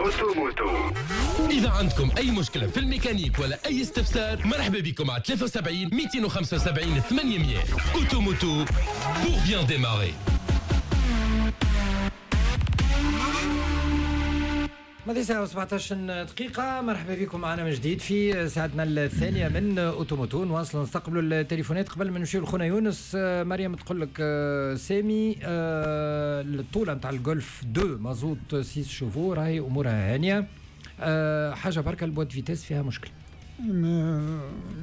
Auto Moto. إذا عندكم أي مشكلة في الميكانيك ولا أي استفسار، مرحبا بكم على 73 275 800. Auto Moto pour bien démarrer. ماضي ساعة و17 دقيقة. مرحبا بكم معنا من جديد في ساعتنا الثانية من Auto Moto. نواصلوا نستقبلوا التليفونات قبل ما نمشيو لخونا يونس. مريم تقول لك سامي، الطولة نتاع الجولف 2 مازوت 6 chevaux راهي أمورها هانية. حاجة بركة، ال boîte vitesses فيها مشكلة.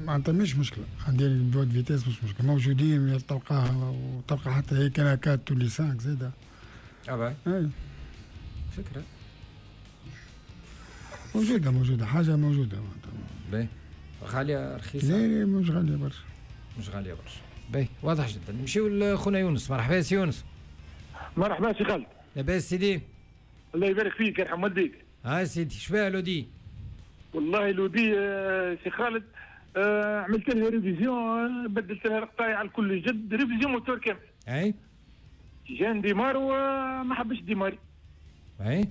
معناتها مش مشكلة، عندي ال boîte vitesses مش مشكلة، موجودين تلقاها، وتلقى حتى هي كان 4 تولي 5 زاده. اه فكرة موجودة، موجودة حاجة موجودة. باهي، غالية رخيصة؟ لا لا مش غالية برشا، مش غالية برشا. باهي، واضح جدا. نمشيو لخونا يونس. مرحبا سي يونس. مرحبا سي خالد. لاباس سيدي؟ الله يبارك فيك، يرحم والديك. ها سيدي، شباه لودي؟ والله لودي سي خالد، عملت لها révision، بدلت لها القطايع على الكل جد، révision moteur كامل. اي جا ن démarre وما حبش démarrer. اي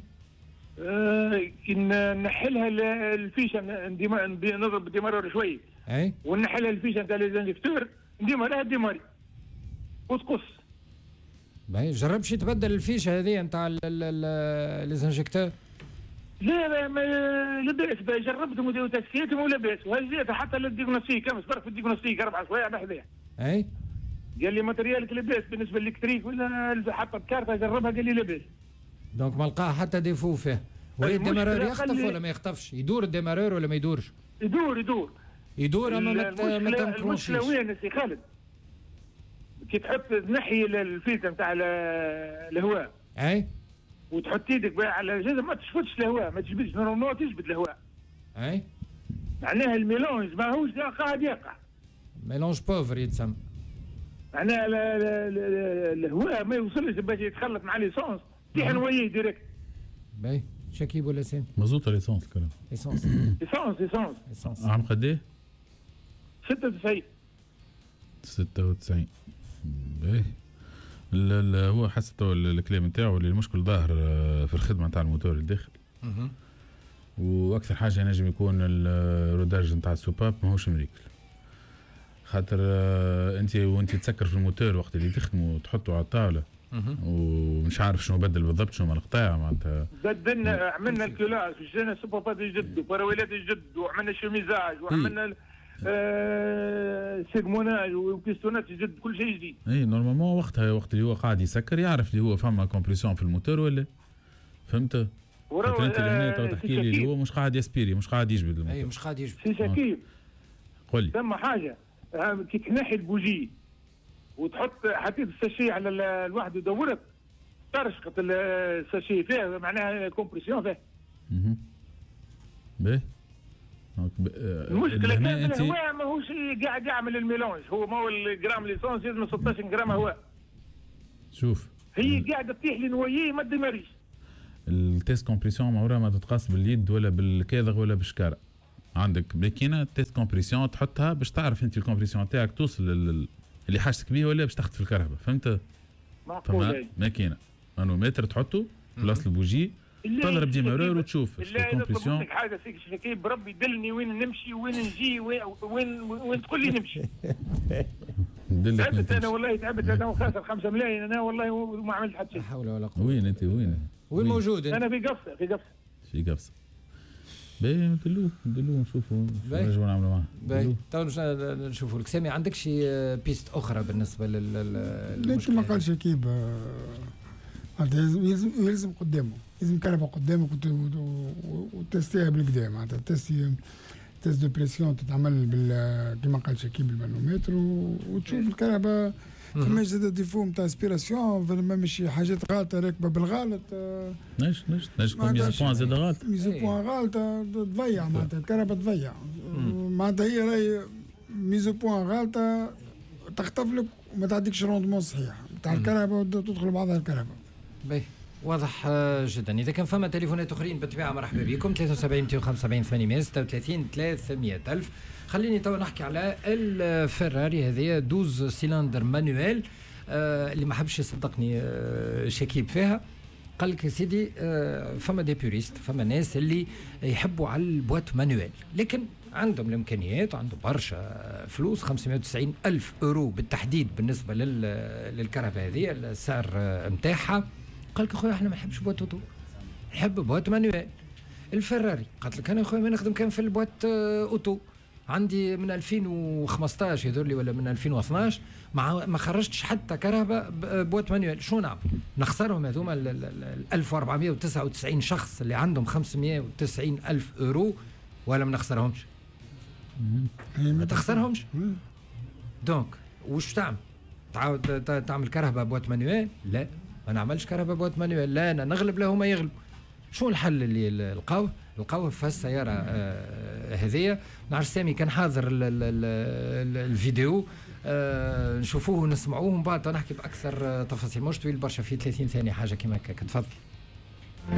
كي نحلها ال fiche، نضرب démarreur شوي. اي ونحلها ال fiche نتاع les injecteurs، نديماريها démarrer وتقص. باهي، جربش تبدل ال fiche هذه نتاع les injecteurs؟ لا لا لاباس، جربتهم وتسكيتهم ولاباس، وهزيتها حتى لل diagnostic، امس برك في ال diagnostic 4 سوايع بحذاها. اي قال لي matériel ك لاباس بالنسبة لل électrique، ولا حتى الكارته جربها قال لي لاباس. donc ما لقاه حتى défaut فيه. وهي ال démarreur يخطف ولا ما يخطفش؟ يدور ال démarreur ولا ما يدورش؟ يدور يدور يدور، اما ما تنكرونشيش. المشكلة وين سي خالد؟ كي تحط تنحي الفلتر نتاع الهواء. اي وتحط يدك على الجهاز ما تشفطش الهواء، ما تجبدش، normalement تجبد الهواء. اي معناها ال mélange ماهوش قاعد يقع. mélange pauvre يتسمى. معناها الهواء ما يوصلش باش يتخلط مع l'essence، تيح noyé direct. باهي، شكيب ولا سامي؟ مازوت ولا essence الكلام؟ essence. essence essence essence. عام قد ايه؟ 96. 96. باهي، هو حسب الكلام نتاعو اللي المشكل ظاهر في الخدمة نتاع الموتور الداخل. واكثر حاجة ينجم يكون ال rodage نتاع ال soupapes ماهوش مريكل، خاطر انت وانت تسكر في الموتور وقت اللي تخدمه وتحطه على الطاولة ومش عارف شنو بدل بالضبط، شنو من القطاع معناتها. بدلنا، عملنا ال culasse وشرينا soupapes جدد وبراولات جدد وعملنا chemisage وعملنا segmentage و piston ات جدد، كل شيء جديد. اي normalement وقتها وقت اللي هو قاعد يسكر يعرف اللي هو فما compression في الموتور ولا، فهمت؟ خاطر انت لهنا تو تحكي لي اللي هو مش قاعد ي aspirer، مش قاعد يجبد الموتور. اي مش قاعد يجبد. سي شكيب قول لي. ثم حاجة، كي تنحي البوجي وتحط حطيت ال sachet على الواحد ودورت ترشقت ال sachet فيها، معناها compression فيها. باهي. المشكلة كان الهواء ماهوش قاعد يعمل ال mélange، هو ما هو ال gramme l'essence لازم 16 جرام هواء. شوف هي قاعدة تطيح لي noyé ما ديماريش. ال test compression عمرها ما تتقاس باليد ولا بال cadre ولا بالشكاره. عندك ماكينة test compression تحطها باش تعرف انت ال compression تاعك توصل اللي حاجتك بيه ولا باش تخطف الكرهبه، فهمت؟ معقول. ماكينة مانومتر تحطه بلاصة البوجي، تضرب démarreur وتشوف ال compression. لك حاجة سيك شكيب بربي دلني وين نمشي وين نجي وين وين تقول لي نمشي. تعبت انا والله، تعبت انا وخاسر 5 ملايين انا والله وما عملت حتى شيء. لا حول ولا قوة. وين انت؟ وين؟ وين موجود انت؟ انا في قفصه، في قفصه. في قفصه. باهي، ندلوه ندلوه نشوفوا نجموا نعملوا معاه. باهي، تو نشوفوا لك. سامي عندك شي piste اخرى بالنسبة للمشكلة؟ كما قال شكيب لازم يلزم قدامه، لازم كرهبه قدامك وتستيها بالقدا، معناتها test de pression تتعمل كما قال شكيب بالمانومتر وتشوف الكرهبه فماش زاد défaut نتاع aspiration، فما مش حاجات غلطه راكبه بالغلط. نجم نجم تكون mise au point زاد غلط، mise au point غلطه تضيع معناتها الكرهبه تضيع، معناتها هي راهي mise au point غلطه تخطف لك وما تعطيكش rendement صحيح نتاع الكرهبه وتدخل بعضها الكرهبه. باهي، واضح جدا. اذا كان فما تليفونات اخرين بالطبيعة مرحبا بكم، 73 275 836 300 الف. خليني تو نحكي على الفراري هذه 12 cylindres manuel، اللي ما حبش يصدقني شكيب فيها. قال لك يا سيدي فما des puristes، فما ناس اللي يحبوا على ال boîte manuelle، لكن عندهم الامكانيات، عندهم برشا فلوس، 590 الف اورو بالتحديد بالنسبة للكرهبه هذه السعر نتاعها. قال لك اخويا احنا ما نحبش boîte auto، نحب boîte manuelle. الفراري قالت لك انا اخويا ما نخدم كان في ال boîte auto، عندي من 2015 يظهر لي ولا من 2012 ما خرجتش حتى كرهبه boîte manuelle. شو نعمل؟ نخسرهم هذوما ال 1499 شخص اللي عندهم 590 الف اورو ولا ما نخسرهمش؟ ما تخسرهمش. donc وش تعمل؟ تعاود تعمل كرهبه boîte manuelle؟ لا، ما نعملش كرهبه boîte manuelle، لا انا نغلب لا هما يغلبوا. شو الحل اللي لقاوه؟ لقاوه في السيارة هذيا. نعرف سامي كان حاضر ال ال ال الفيديو، نشوفوه ونسمعوه ومن بعد نحكي باكثر تفاصيل. مش طويل برشا، في 30 ثانية حاجة كيما هكاك. تفضل.